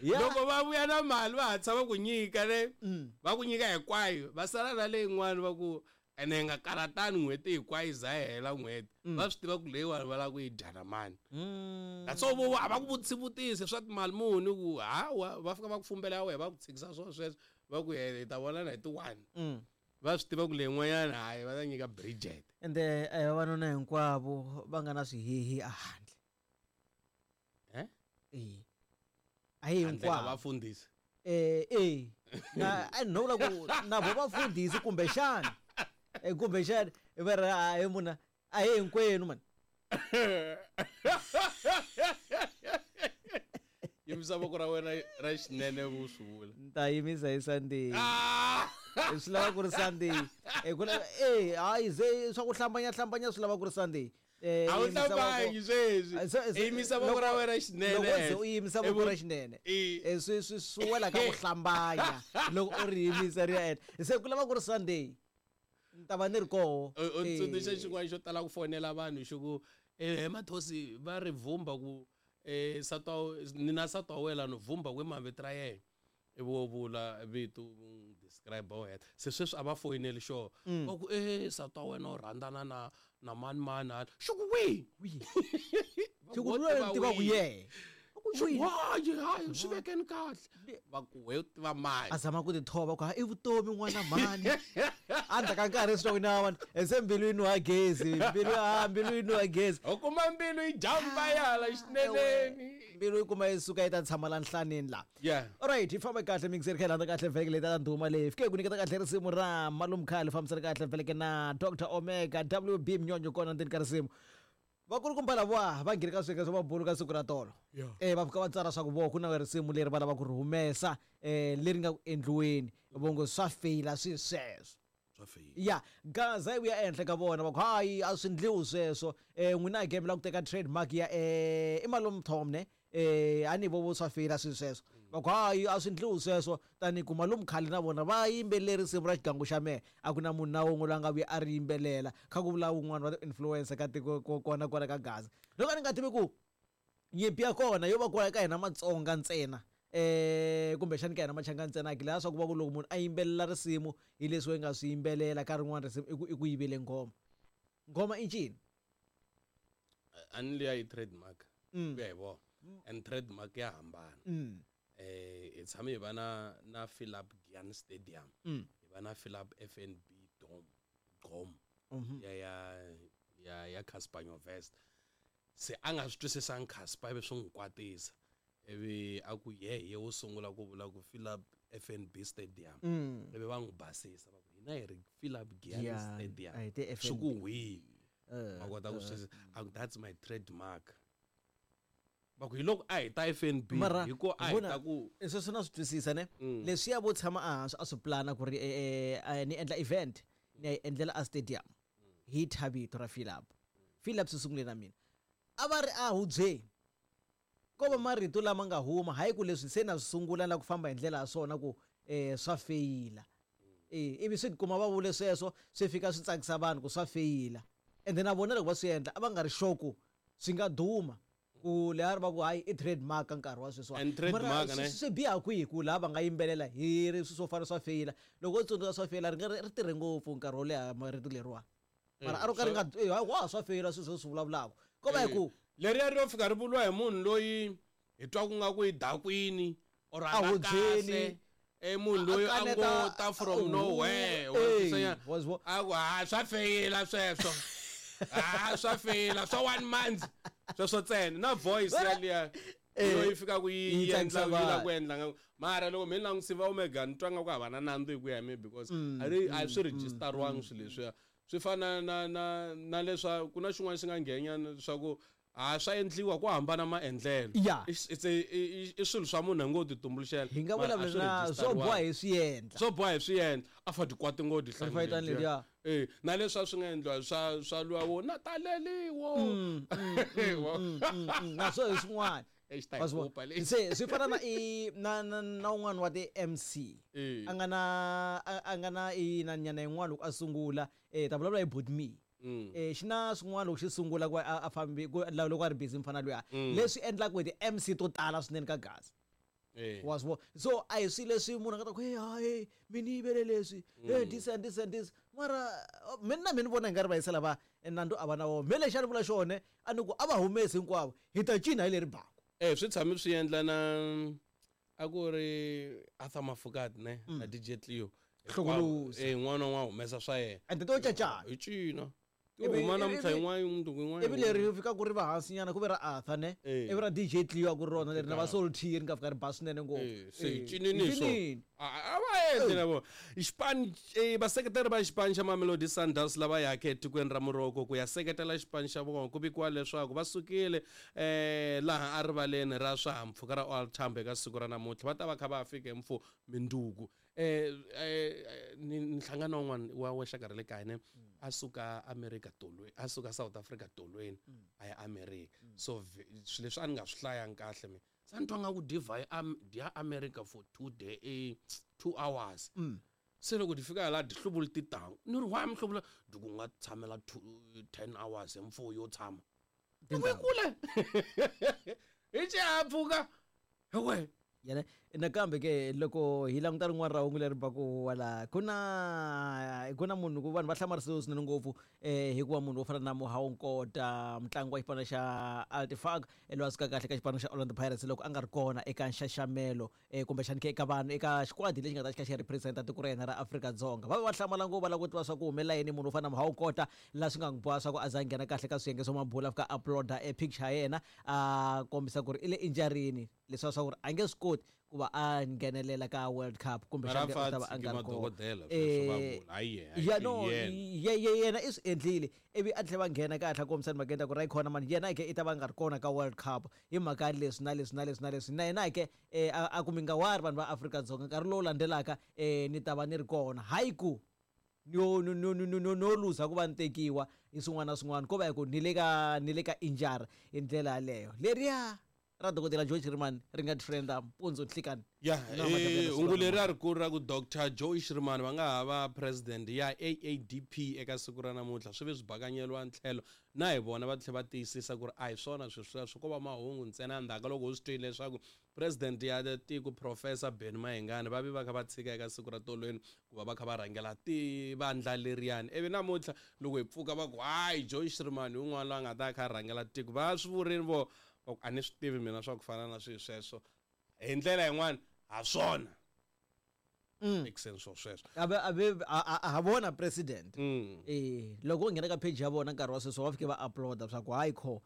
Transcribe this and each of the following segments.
Yeah. Loko va vuya na mali va hatlisa va ku nyika ne, va ku nyika hinkwayo, va sala na leyin'wani va ku ene hi nga karatani n'hweti hinkwayo yi za yi hela n'hweti. Va swi tiva ku leyiwani va lava ku yi dya na mani. That's all vo a va ku vutisi vutisi swa timali muni ku hawa va fika va ku fumbela ya wena va ku tshikisa swo sweswo va ku hi ta vonana hi ti 1. Va swi tiva ku leyin'wanyana hayi va ta nyika Bridget. Ende a hi vavanuna hinkwavo va nga na swihihi ehandle. Eh? Eh. A hi Handle ka hinkwavo. vafundhisi. Eh eh na a no vula ku na vo vafundhisi kumbexana. Eh kumbexana va ri a hi muna a hi hinkwenu man. Yimisa voko ra wena ra xinene u swi vula. Ni ta yimisa hi Sunday. Ah! Swi lava ku ri Sunday. Eh ku na eh hayi ze swa ku hlambanya hlambanya swi lava ku ri Sunday. Eh A wu yimisa voko- hlambanyi sweswi. Ah, Yimisa voko ra wena xinene. Loko ze u yimisa voko ra xinene. Eh. Eh swi wela ka ku hlambanya loko u ri yimisa ri ya ehenhla. Se ku lava ku ri Sunday. Ni ta va ni ri koho. U Eh. tsundzuxa xin'wana xo tala ku fonela vanhu xi ku eh mathosi va ri vhumba ku eh nsati wa ni na nsati wa wena ni vhumba ku i mavito ra yena. Ivi wo vula vito u n'wi describe u heta. Se sweswi a va foyineli xona. Va ku eh nsati wa wena u rhandzana na mani mani hala. Xi ku wihi? Wihi? Va Xi ku ku wo loyi tiva ni tivaka wihi? yehe. Va ku Xi ku wihi? hayi hayi swi vekeni kahle. Va ku we u tiva mani? A zama ku tithoba ku ha i vutomi n'wana mhani. Endzhaku ka nkarhi swi twa ku na vanhu se mbilu yi nuha gezi mbilu ha mbilu yi nuha gezi. U kuma mbilu yi jumpa yi hala xineneni. Mbilu yi kuma yi suka yi ta tshama la nhlaneni la. Yeah. Alright, hi famba kahle mixer kha hi landza kahle vheke leyi ta ndhuma leyi. Fike ku nyiketa kahle risimu ra Malume Khale fambisana kahle vheke na Dr Omega WB Mnyonyo kona ndzeni ka risimu. Vakulukumba lava va nghene ka swiyenge swa mabulu ka siku ra tolo. Yeah. Eh va fika va tsala swa ku vo ku na risimu leri va lavaka ku ri humesa eh leri nga ku endliweni vo ngo swa feyila swi sweswo. Swa feyila. Ya Gaza yi vuya ehenhla ka vona va ku hayi a swi ndliwi sweswo eh n'wina game la ku teka trademark ya eh i Malume Tom ne eh a ni vo vo swa feyila swi sweswo va ku hayi a swi ndliwi sweswo tani ku Malume Khale na vona va yimbeleri risimu ra xigangu xa mehe a ku na munhu na wun'we loyi a nga vuya a ri yimbelela kha ku vula wun'wana wa ti-influencer ka tiko kona kwala ka Gaza loko a ni nga tivi ku nyimpi ya kona yo va kwala ka hina Matsonga ntsena eh kumbexani ka hina Machangani ntsena ki laha swa ku va ku loko munhu a yimbelela risimu hi leswi wena nga swi yimbelela ka rin'wana risimu i ku yivele nghoma. Nghoma i ncini? A ni liya yi trademark. Ku ya hi vona. And trademark ya hambana. Eh hi tshame hi va na Philip Giyani Stadium. Hi va na Philip FNB Dome. Gom. Ya Cassper Nyovest. Se a nga swi twisisanga Cassper ivi swi n'wi kwatisa. Ivi a ku ye hi ye wo sungula ku vula ku Philip FNB Stadium. Ivi va n'wi basisa va ku hina hi ri Philip Giyani Giyani, Stadium. a hi ti Swi FNB. ku wihi? Va kota ku swi a ku that's my trademark. Va ku hi loko a hi ta FNB Mara hi ko a hi vona, ta ku sweswo na swi twisisa ne leswiya vo tshama ehansi a swi plana ku ri ni endla event ni ya yi endlela a stadium hi thya vito ra Philip. Philip swi sungule na mina. A va ri a hubyeni ko va marito lama nga huma hayi ku leswi se na swi sungula la ku famba hi ndlela ya swona ku swa feyila. Ivi swi kuma va vule sweswo swi fika swi tsakisa vanhu ku swa feyila. Ende na vona loko va swi endla a va nga ri sure ku swi nga duma ku leha ri va ku hayi i trademark nkarhi wa sweswiwani. And trademark, Mara ne? swi biha kwihi ku laha va nga yimbelela hi ri swilo swo fana swa feyila. Loko u tsundzuka swa feyila ri nga ri tirhe ngopfu nkarhi wo leha marito leriwa. Mara a ro ka ri nga wa swa feyila sweswo swi vulavulaka. Ko va hi ku leriya ri yo fika ri vuriwa hi munhu loyi hi twa ku nga ku i dakwini or a A nga hubyeni. kahle. Munhu loyi a ngo ta from nowhere. Wa twisisa nyana? Was what? A ku, ha, swa feyila sweswo. Ha, swa feyila swa 1 month. Sweswo ntsena na voice yaliya. Loyi fika ku yi Yi endla tsakisa yi la vanhu. ku endla nga mara loko mina langutisa va Omega ni twa nga ku hava na nandzu hi ku ya hi mina because a ri a swi register-wangi swilo leswiya. Swi fana na leswa ku na xin'wana xi nga nghena swa ku a swa endliwa ku hambana maendlelo. Yeah. I swilo swa munhu a ngo ti tumbuluxela. Hi nga Mara a vulavula swi na swo register-wangi. boha hi swi endla. Swo boha hi swi endla. A fa tikwati ngo ti A fa yi tani leriya. Na leswi a swi nga endliwa swa luwa wo na taleliwo. Na swo hi swin'wana. Exi ta hi Wa swi vona? kopa leyi. Se swi fana na i na na na un'wana wa ti MC. A nga na a nga na i na nyana yin'wana loko a sungula ta vulavula hi Bot Me. Xi na swin'wana loko xi sungula ku a fambi ku loko a ri busy mfana luya. Leswi endlaka ku ti MC to tala swinene ka Gaza. Wa swi vona? So a hi swilo leswi munhu a nga ta ku, hey, hayi, mi ni yivele leswi, hey, this and this and this. Mara mina na mina ni vona hi nga ri vayisa lava nandzu a va na wona. Me lexi a ni vula xona, a ni ku a va humesi hinkwavo, hi ta cina hi leri baku. Swi tshame swi endla na a ku ri Arthur Mafokate ne na DJ Cleo. Hlongolosi. N'wana wa humesa swa yena. And to cacana. Hi cina. Ti huma namuntlha yin'wana, mundzuku yin'wana. Ivi leri fika ku ri va hansi nyana, ku ve ra Arthur ne. Ivi ra DJ Cleo a ku ri rona leri na va Soul T ri nga fika ri ba swinene ngopfu. Se hi cinini swo. A va endli na vona. Xipano, vaseketeri va xipano xa Mamelodi Sundowns lava yaka etikweni ra Morocco ku ya seketela xipano xa vona, ku vikiwa leswaku va sukile laha erivaleni ra swihahampfhuka ra OR Tambo eka siku ra namuntlha. Va ta va kha va fika hi mfu minduku. Ni nhlangano wun'wana wa xaka ra le kaya ne, a suka America tolweni, a suka South Africa tolweni, a ya America. So swilo leswi a ni nga swi hlayangi kahle mina. Se ni twa nga ku dyi dya America for 2 day, 2 hours. Se loko di fika laha di hluvula titangu. Ni ri why mi hluvula? Di ku nga tshamela 10 hours hi mfuwo yo tshama. Ni ku yi kule. Hi xihahampfhuka. Hi we. Yena nakambe ke loko hi languta rin'wana ra hungu leri baku wala, ku na munhu ku vanhu va hlamarisiwe swinene ngopfu hikuva munhu wo fana na Mohau Nkota, mutlangi wa xipano xa Al-Ettifaq, loyi a suka kahle ka xipano xa Orlando Pirates loko a nga ri kona eka nxaxamelo kumbexana ke eka vanhu eka xikwadi lexi nga ta xi kha xi represent-a tiko ra hina ra Afrika-Dzonga. Va va hlamala ngopfu, va lava ku tiva swa ku humelela yini munhu wo fana na Mohau Nkota, laha swi nga n'wi boha swa ku a za a nghena kahle ka swiyenge swa mabulu, a fika a upload-a e picture ya yena, a kombisa ku ri i le injury-ni, leswiya swa ku ri a nge swi koti ku va a nghenelela ka World Cup kumbe Mara xana u ta va a Fatsi nga ri ke kona. madokodela, sweswo va vula. Hayi yena, Ya, no, yena. yena i swi endlile, ivi a tlhela va nghena kahle a kombisa ni mhaka ku ri khona mani, yena ke i ta va nga ri kona ka World Cup hi mhaka ya leswi na leswi na leswi na leswi. Na yena ke, a ku mi nga wari vanhu va Afrika-Dzonga, nkarhi lowu landzelaka, ni ta va ni ri kona. Hayi ku no, no, no, no, no, no, no luza ku va ni tekiwa hi swin'wana na swin'wana, ko va hi ku ni le ka, ni le ka injury hi ndlela yaleyo. Leriya ra dokodela Joe Shirimani ri nga trenda mpundzu nhlikani. Ya, Na madokodela hungu Shirimani. leri a ri kulu ra ku Doctor Joe Shirimani va nga ha va president ya AADP eka siku ra namuntlha, swi ve swi bakanyeriwa ntlhelo na hi vona va tlhela va tiyisisa ku ri a hi swona swilo sweswo, ko va mahungu ntsena. Endzhaku ka loko u swi twile leswaku president ya tiko Professor Benny Mayengani va vi va kha va tshika eka siku ra tolweni ku va va kha va rhangela vandla leriyani, ivi namuntlha loko hi pfuka va ku hayi Joe Shirimani hi un'wana loyi a nga ta kha a rhangela tiko, va swi vurini vo va ku a ni swi tivi mina swa ku fana na swilo sweswo hi ndlela yin'wana ha swona. Ekuseni swo sweswo. A ve, a ve, a, a, a ha vona president. Loko u nghena ka page ya vona nkarhi wa sweswo va fike va upload-a swa ku hayi kho,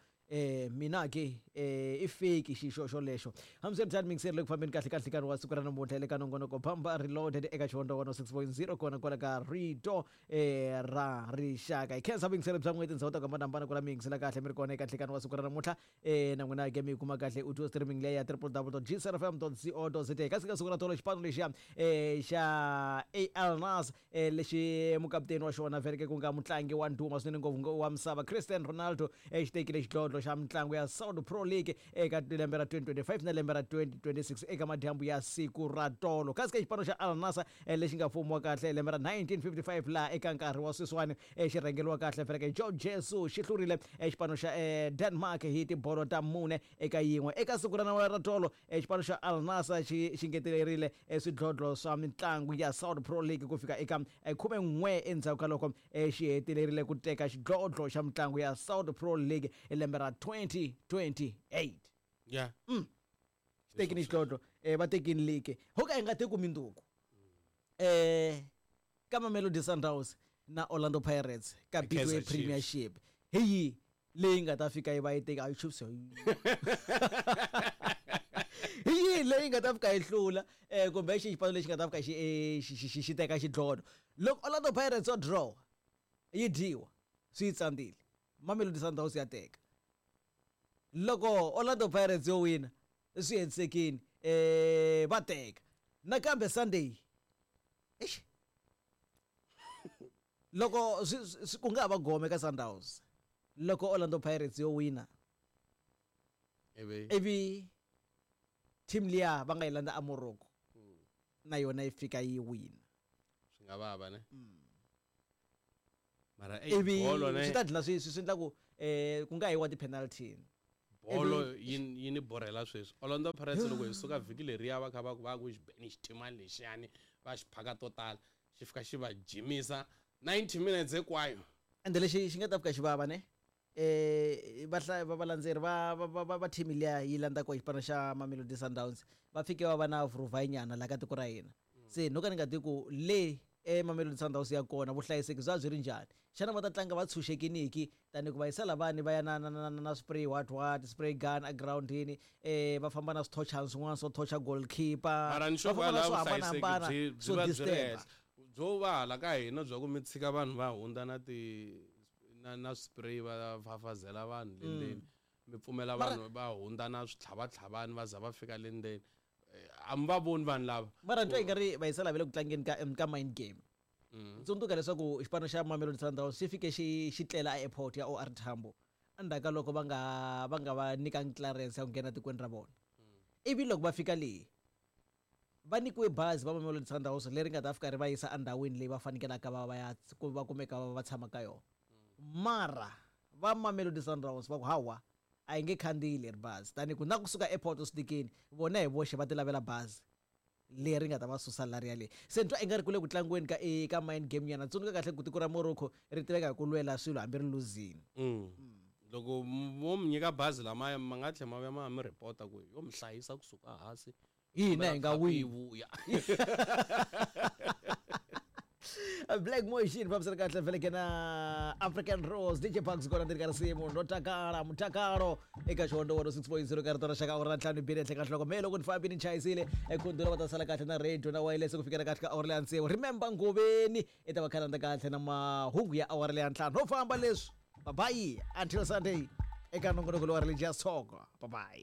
mina ke, i fake xixo xolexo. Hambiswiritano, mixer le ku fambeni kahle kahle nkarhi wa siku ra namuntlha le ka nongonoko Bamba Reloaded eka Xivonda 106.0 kona kwala ka Rito, ra Rixaka. Hi khensa vuyingiseri bya n'wina tindhawu ta ku hambanahambana ku la mi yingisela kahle mi ri kona eka nhlekani wa siku ra namuntlha. Na n'wina ke mi yi kuma kahle u twa streaming leyi ya triple w dot g c f m dot c o dot z a. Kasi ka siku ra tolo xipano lexiya, xa AL Nassr, lexi mukaputeni wa xona vhele ku nga mutlangi wa ndhuma swinene ngopfu wa misava Cristiano Ronaldo, xi tekile xidlodlo xa mitlangu ya Saudi Pro League eka lembe ra 2025 na lembe ra 2026 eka madyambu ya siku ra tolo. Kasi ka xipano xa Al Nassr, lexi nga fumiwa kahle hi lembe ra 1955 laha eka nkarhi wa sweswiwani, xi rhangeriwa kahle vhele ke Jorge Jesus xi hlurile, xipano xa, Denmark hi tibolo ta mune eka yin'we. Eka siku ra ra tolo, xipano xa Al Nassr xi ngetelerile, swidlodlo swa mitlangu ya Saudi Pro League ku fika eka, 11 endzhaku ka loko, xi hetelerile ku teka xidlodlo xa mitlangu ya Saudi Pro League hi lembe ra 2028. Xi tekile xidlodlo, va tekile league. Ho ka hi nga teki minduku. Ka Mamelodi Sundowns na Orlando Pirates ka Kaizer Betway Chiefs. Premiership. Hi yi leyi nga ta fika yi va yi teka, a yi Chiefs. Hi yi leyi nga ta fika yi hlula, kumbe xi xipano lexi nga ta fika xi teka xidlodlo. Loko Orlando Pirates yo draw, yi dyiwa, swi yi tsandzile. Mamelodi Sundowns ya teka. Loko Orlando Pirates yo wina, swi hetisekile, va teka. Nakambe Sunday. Eish. Loko swi ku nga ha va gome ka Sundowns. Loko Orlando Pirates yo wina, Ivi ivi team liya va nga yi landza a Morocco, na yona yi fika yi wina. Swi nga vava ne? Mara, Ivi bolo ne? swi ta dlina swi endla ku, ku nga yiwa ti-penalty. Bolo yi yi ni borhela sweswi. Orlando Pirates loko hi suka vhiki leriya va kha va ku va ku xi beni xithimani lexiyani va xi phaka to tala xi fika xi va jimisa 90 minutes hinkwayo. Ende lexi xi nga ta fika xi vava ne va valandzeri va team liya yi landzaka xipano xa Mamelodi Sundowns va fike va va na vuruvhayinyana laha ka tiko ra hina. Se no ka ni nga tivi ku le eMamelodi Sundowns ya kona vuhlayiseki bya byi ri njhani. Xana va ta tlanga va tshunxekiniki tani ku va yisa lavani va ya na spray what what spray gun egirawundini va famba na swithochana swin'wana swo thocha goalkeeper Mara ni va sure famba na kwalaho swo vuhlayiseki hambanahambana byi byi swo va byi ri disturb-a. henhla. Byo va hala ka hina bya ku mi tshika vanhu va hundza na ti na spray va fafazela vanhu le ndzeni. Mi pfumela Mara vanhu va hundza na switlhavatlhavani va za va fika le ndzeni. A mi va voni vanhu lava. Mara ni twa i nga ri va yisa lava le ku tlangeni ka mind game. Tsundzuka leswaku xipano xa Mamelodi Sundowns xi fike xi tlela a airport ya OR Tambo endzhaku ka loko va nga va nyikangi clearance ya ku nghena tikweni ra vona. Ivi loko va fika leyi va nyikiwe bazi va Mamelodi Sundowns leri nga ta fika ri va yisa endhawini leyi va fanekelaka va va ya ku va kumeka va tshama ka yona. Mara va Mamelodi Sundowns va ku hawa a yi nge khandziyi leri bazi tani ku na kusuka airport swi tikini vona hi voxe va ti lavela bazi leri nga ta va susa lariya leyi. Se ni twa i nga ri ku le ku tlangiweni ka mind game nyana. Tsundzuka kahle ku tiko ra Morocco ri tiveka hi ku lwela swilo hambi ri luzini. Loko mo mi nyika bazi lamaya ma nga tlhela ma vuya ma mi report-a ku yo mi hlayisa kusuka hansi. Hina hi nga Kombela wini. khapu yi vuya. Black Motion fambisana kahle vhele ke na African Rose DJ Bugs kona ndzi ri ka risimu ro takala mutakalo eka xihondzo 106.0 ka rito ra xaka awara na ntlhanu bini ehenhla ka nhloko me loko ni fambini ni chayisile ekhundula va ta sala kahle na radio na wireless ku fikela kahle ka awara leya tsevu. Remember Ngoveni i ta va khalanda kahle na mahungu ya awara leya ntlhanu no famba leswi. Bye bye until Sunday eka nongonoko lowa Religious Talk. Bye bye.